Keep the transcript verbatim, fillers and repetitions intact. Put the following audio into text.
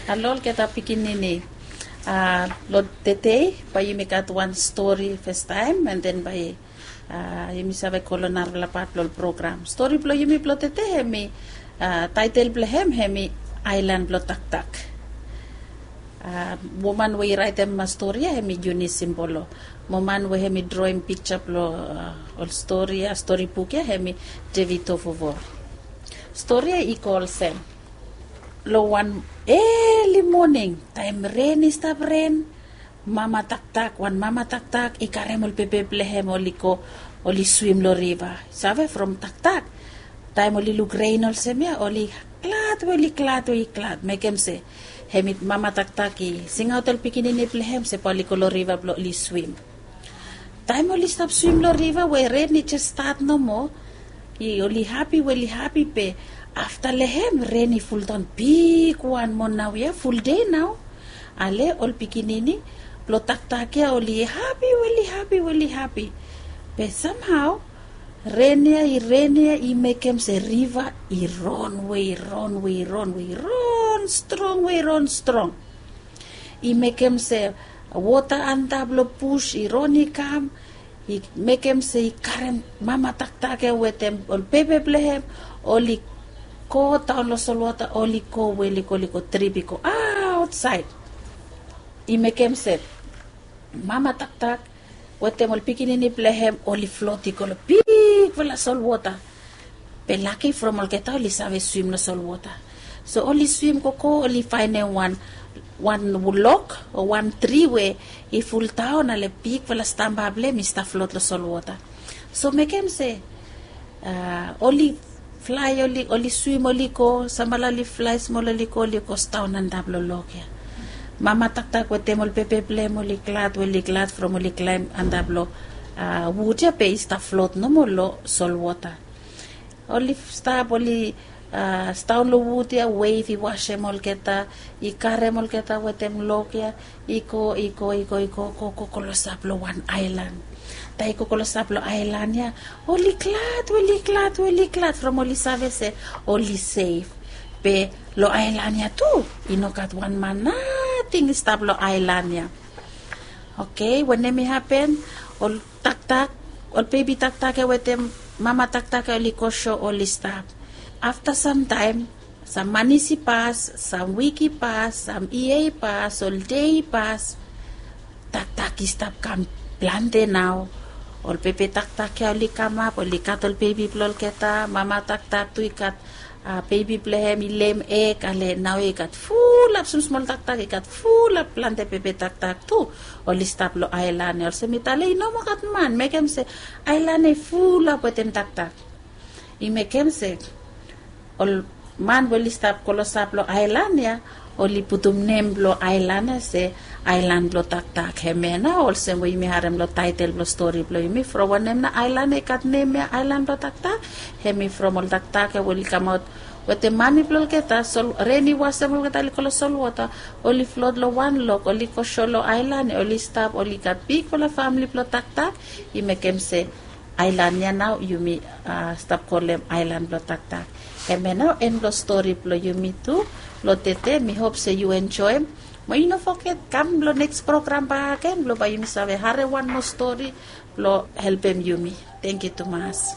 Halo olgeta pikinini. Long tedei bae yumi gat wan stori fastaem, an den bae yumi save go long narafala pat blong ol program. Stori blong yumi blong tedei hemi, taetel blong hem hemi Aelan blong Taktak. Woman we i raetem stori ya hemi Eunice Simbolo. Mo man we hemi droem pikja blong ol stori ya, stori buk ya, hemi David Tofovor. Stori ya i go olsem. Long wan eli moning, taem ren i stap ren, mama taktak, wan mama taktak i karem ol pepe blong hem oli go, oli swim long riva. Save from taktak, taem oli luk ren olsem ya, oli glad we oli glad we i glad, mekem se hemi mama taktak i singaot ol pikinini blong hem se bae oli go long riva blong oli swim. Taem oli stap swim long riva we ren i jes stat nomo, oli hapi we oli hapi, be afta long hem ren i fuldaon bigwan moa naoia, fuldei nao. Ale ol pikinini blong taktak ya oli hapi we oli hapi we oli hapi. Be samhao ren ya i ren ya i mekem se riva i ron we i ron we i ron we i ron strong we i ron strong. I mekem se wota antap long bus i ron i kam, i mekem se i karem mama taktak ya wetem ol pepe blong hem, oli go daon long solwota, oli go we oli go, oli go trip i go aotsaed. I mekem se mama taktak wetem ol pikinini blong hem oli flot i go long bigfala solwota. Be laki from olgeta oli save swim long solwota. So oli swim gogo, oli faenem wan, wan log o wan tri we i fuldaon, ale bigfala stamba blong hem i stap flot long solwota. So mekem se oli flae, oli, oli swim, oli go, samfala oli flae smol, oli go, oli go staon antap long log ya. Mama taktak wetem ol pepe blong hem oli glad we oli glad from oli klaem antap long wud ya be i stap flot nomo long solwota. Oli stap, oli staon long wud ya, wev i wasem olgeta, i karem olgeta wetem log ya, i go, i go, i go, i go, go, go klosap long wan aelan. Taem i go klosap long aelan ya, oli glad we oli glad we oli glad from oli save se oli sef. Be long aelan ya tu i no gat wan man nating i stap long aelan ya. Oke, wanem i hapen? Ol taktak, ol bebi taktak ya wetem mama taktak ya oli go so oli stap. Afta samtaem, sam manis i pas, sam wik i pas, sam yia i pas, ol dei i pas. Taktak i stap kam plante nao. Ol pepe taktak ya oli kamap, oli gat ol bebi blong olgeta, mama taktak tu i gat bebi blong hem i lem eg, ale nao i gat fulap smosmol taktak, i gat fulap plante pepe taktak tu. Oli stap long aelan ya, olsem mi talem i no moa gat man, mekem se aelan ya i fulap wetem taktak. I mekem se ol man we oli stap klosap long aelan ya, oli putum nem blong aelan ya se aelan blong taktak. Hemia nao olsem we yumi harem long taetel blong stori blong yumi, from wanem nao aelan ya i gat nem ya aelan blong taktak? Hemi from ol taktak ya we oli kamaot wetem mami blong olgeta, ren i wasem olgeta, oli go long solwota, oli flot long wan log, oli go so long aelan ya, oli stap, oli gat bigfala famili blong taktak. I mekem se aelan ya nao yumi stap kolem aelan blong taktak. Hemia nao en blong stori blong yumi tu long tede. Mi hop se yu enjoem. Mo yu no foget kam long neks program bakegen blong bae yumi save harem wan moa stori blong helpem yumi. Tangkiu tumas.